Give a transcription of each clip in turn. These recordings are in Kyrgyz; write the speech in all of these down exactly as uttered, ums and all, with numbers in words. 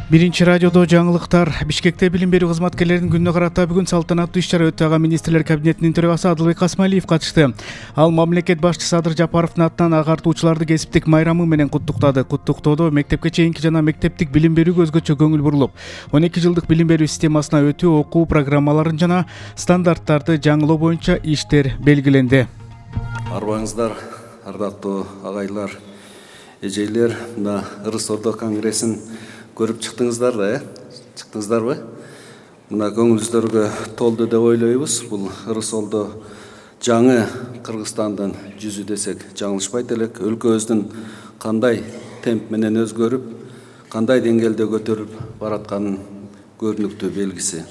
Биринчи радиодо жаңылыктар. Бишкекте билим берүү кызматкерлеринин күнүнө карата бүгүн салтанаттуу иш-чара өттү. Ага министрлер кабинетинин төрагасы Адылбек Касмалиев катышты. Ал мамлекет башчысы Садыр Жапаровдун атынан агартуучуларды кесиптик майрамы менен куттуктады. Куттуктоодо мектепке чейинки жана мектептик билим берүүгө өзгөчө көңүл бурулуп, он эки жылдык билим берүү системасына өтүү, окуу программаларын жана стандарттарды жаңылоо боюнча иштер белгиленди. Арбаңыздар, ардактуу агайлар, эжейлер, мына Ырыс Ордо конгрессин көрүп чыктыңыздар да, э? Чыктыңыздарбы? Мына көңүлүңүздөргө толду деп ойлойбуз. Бул Ырыс Ордо жаңы Кыргызстандын жүзү десек жаңылышпайт элек. Өлкөбүздүн кандай темп менен өзгөрүп, кандай деңгээлде көтөрүлүп баратканын көрүнүктүү белгиси.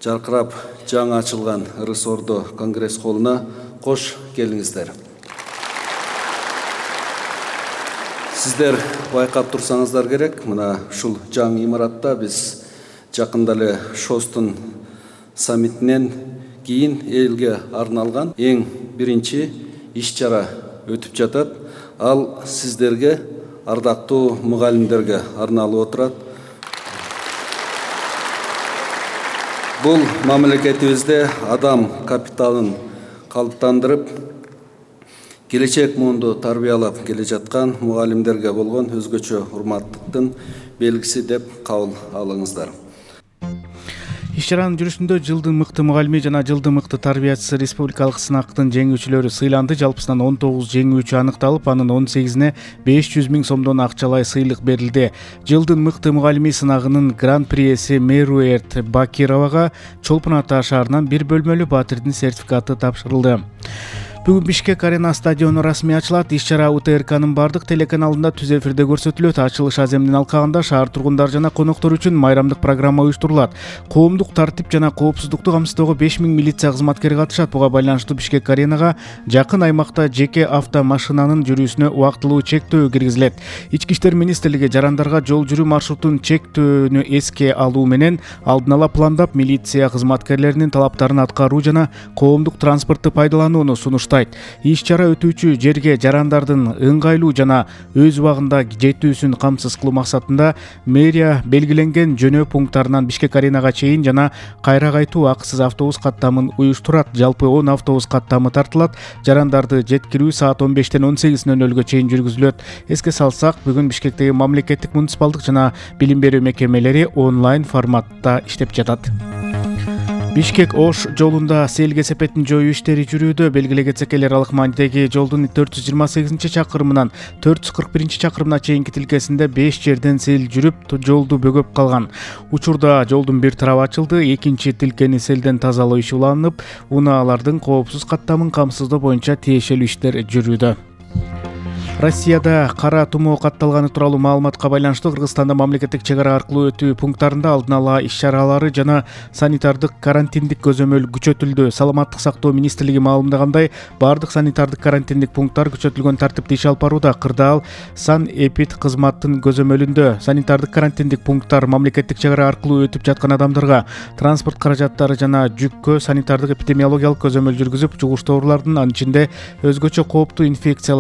Жаркырап жаңы ачылган Ырыс Ордо конгресс холуна кош келиңиздер. Сиздер байкап турсаңыздар керек, мына ушул жаңы имаратта биз жакында эле ШОСтун саммитинен кийин элге арналган эң биринчи иш-чара өтүп жатат. Ал сиздерге, ардактуу мугалимдерге арналып отурат. Бул мамлекетибизде адам капиталын калыптандырып, келечек муунду тарбиялап келе жаткан мугалимдерге болгон өзгөчө урматтыктын белгиси деп кабыл алыңыздар. Иш-чаранын жүрүшүндө жылдын мыкты мугалими жана жылдын мыкты тарбиячысы республикалык сынактын жеңүүчүлөрү сыйланды. Жалпысынан он тогуз жеңүүчү аныкталып, анын он сегизине беш жүз миң сомдон акчалай сыйлык берилди. Жылдын мыкты мугалими сынагынын гран-при ээси Меруерт Бакировага Чолпон Ата шаарынан бир бөлмөлүү батирдин сертификаты тапшырылды. Бүгүн Бишкек Арена стадиону расмий ачылат. Иш-чара У Т Р К'нын бардык телеканалында түз эфирде көрсөтүлөт. Ачылыш аземинин алкагында шаар тургундары жана коноктор үчүн майрамдык программа уюштурулат. Коомдук тартип жана коопсуздукту камсыздоого беш миң милиция кызматкери катышат. Буга байланыштуу Бишкек Аренага жакын аймакта жеке автомашинанын жүрүүсүнө убактылуу чектөө киргизилет. Ички иштер министрлиги жарандарга жол жүрүү маршрутун чектөөнү эске алуу менен алдын ала пландап, милиция кызматкерлеринин талаптарын аткаруу жана коомдук транспортты пайдаланууну сунуштайт. Иш-чара өтүүчү жерге жарандардын ыңгайлуу жана өз убагында жетүүсүн камсыз кылуу максатында мэрия белгиленген жөнөө пункттарынан Бишкек Аренага чейин жана кайра кайтуу акысыз автобус каттамын уюштурат. Жалпы он автобус каттамы тартылат. Жарандарды жеткирүү саат он бештен он сегиз нөл нөлгө чейин жүргүзүлөт. Эске салсак, бүгүн Бишкектеги мамлекеттик муниципалдык жана билим берүү мекемелери онлайн форматта иштеп жатат. Бишкек-Ош жолунда сел кесепетин жоюу иштери жүрүүдө. Белгилей кетсек, эл аралык маанидеги жолдун төрт жүз жыйырма сегизинчи чакырымынан төрт жүз кырк биринчи чакырымына чейинки тилкесинде беш жерден сел жүрүп, жолду бөгөп калган. Учурда жолдун бир тарабы ачылды, экинчи тилкени селден тазалоо иши уланып, унаалардын коопсуз каттамын камсыздоо боюнча тиешелүү иштер жүрүүдө. Россияда кара тумоо катталганы тууралуу маалыматка байланыштуу Кыргызстанда мамлекеттик чек ара аркылуу өтүү пункттарында алдын ала иш-чаралары жана санитардык карантиндик көзөмөл күчөтүлдү. Саламаттык сактоо министрлиги маалымдагандай, бардык санитардык карантиндик пункттар күчөтүлгөн тартипте иш алып барууда. Кырдаал санэпид кызматтын көзөмөлүндө санитардык карантиндик пункттар мамлекеттик чек ара аркылуу өтүп жаткан адамдарга, транспорт каражаттары жана жүккө санитардык эпидемиологиялык көзөмөл жүргүзүп, жугуштуу оорулардын, анын ичинде өзгөчө кооптуу инфекциялар